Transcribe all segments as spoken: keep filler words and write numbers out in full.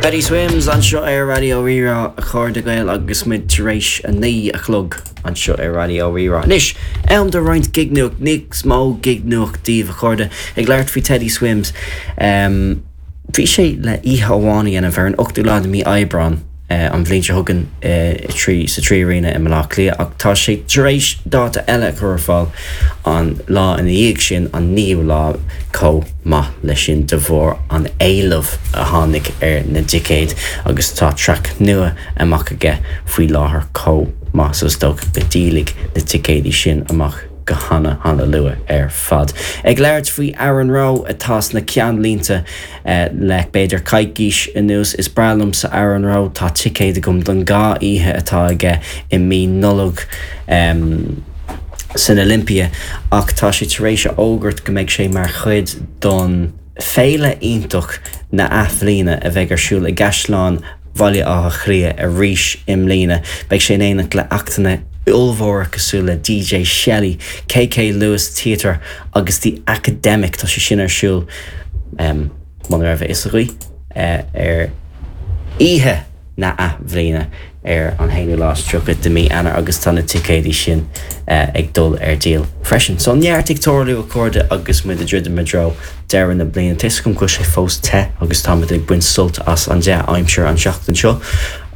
Teddy Swims anseo ar Raidió Rí-Rá a chairde Gael agus muid tar éis a naoi a chlog anseo ar Raidió Rí-Rá. Anois am do roinnt gignuach níos mó gignuach díobh a chairde ag labhairt faoi Teddy Swims. Um, Bhí sé le oíche amháin a dhéanamh ar an ochtú lá de mhí Aibreán uh, an bhliain seo chugainn uh, trí sa Trí Arena i mBaile Átha Cliath ach tá sé tar éis dáta eile chur ar fáil an lá ina dhiaidh sin an naoú lá chomh maith leis sin de bharr an éileamh a tháinig ar na ticéid agus tá traic nua amach aige faoi láthair chomh maith so is dócha go ndíolfaidh na ticéidí sin amach go hana hana luath ar fad. Ag labhairt faoi Aaron Rowe atá sna ceannlínte eh, le b'fhéidir coicís anuas is breá liomsa Aaron Rowe tá ticéid agam don dhá oíche atá aige i mí Nollag um, san Olympia ach tá sé tar éis a fhógairt go mbeidh sé mar chuid don féile iontach na athbhliana a bheidh ar siúl i gCaisleán Bhaile Átha Cliath arís i mbliana, beidh sé in éineacht le hactanna ollmhóra cosúil le DJ Shelley, KK Lewis Theatre agus The Academic tá sé sin ar siúl um, mura raibh a fhios agaibh uh, ar oíche na athbhliana ar an haonú lá is tríocha de mí Eanáir agus tá na ticéidí sin uh, ag dul ar díol freisin. So neart ag tarlú a chairde agus muid ag druidim i dtreo deireadh na bliana Tuigim go bhfuil sé fós te agus táimid ag baint sult as an dea-aimsir an seachtain seo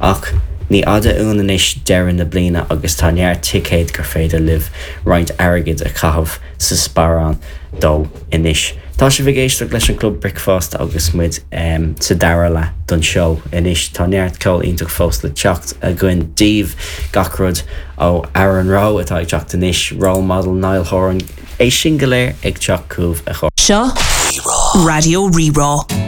ach ní fhada uainn anois deireadh na bliana agus tá neart ticéid gur féidir libh roinnt airgid a chaitheamh sa sparán dó anois. Tá sibh ag éisteacht leis an Club Bricfeasta agus muid um, sa dara leath don seó anois tá neart ceol iontach fós le teacht againn daoibh gach rud ó Aaron Rowe atá ag teacht anois Role Model Niall Horan é sin go léir ag teacht chugaibh a Seo Raidió Rí-Rá.